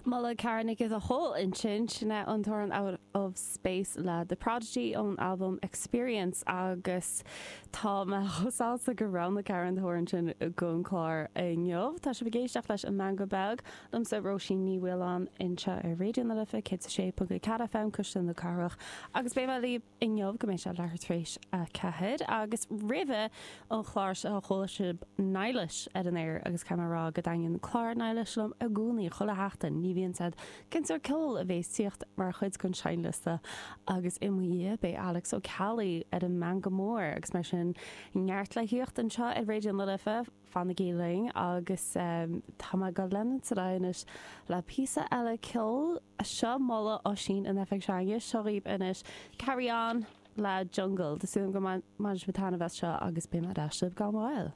Moladh Karen Nic the Whole ansin, sin é an t-amhrán Out of Space le The Prodigy ón albam Experience agus tá mé chomh sásta gur roghnaigh Karen an t-amhrán sin don chlár inniu. Tá sibh ag éisteacht leis An Meangadh Beag, liomsa Róisín Ní Mhaoláin anseo ar Raidió na Life 106.4 FM, Cuisle na Cathrach agus beidh mé libh inniu go mbeidh sé leathuair tar éis 4 agus roimhe an chlár seo chuala sibh Niallais ar an aer agus caithfidh mé a rá go dtaitníonn clár Niallais liom i gcónaí chuile sheachtain ní bhíonn 's a'd cén sórt ceoil a bhéas tíocht mar chuid den seinnliosta agus i mo dhiaidh beidh Alex Ó Ceallaigh ar an Meangadh Mór agus mar sin neart le thíocht anseo ar Raidió na Life. Fanaigí linn agus tá mé ag dul leanúint ar aghaidh anois le píosa eile ceoil. Seo moladh Oisín in oifig s'againne. Seo dhaoibh anois Carry On le Jungle. Tá súil agam go mbainfidh sibh taitneamh as seo agus beidh mé ar ais libh gan mhoill.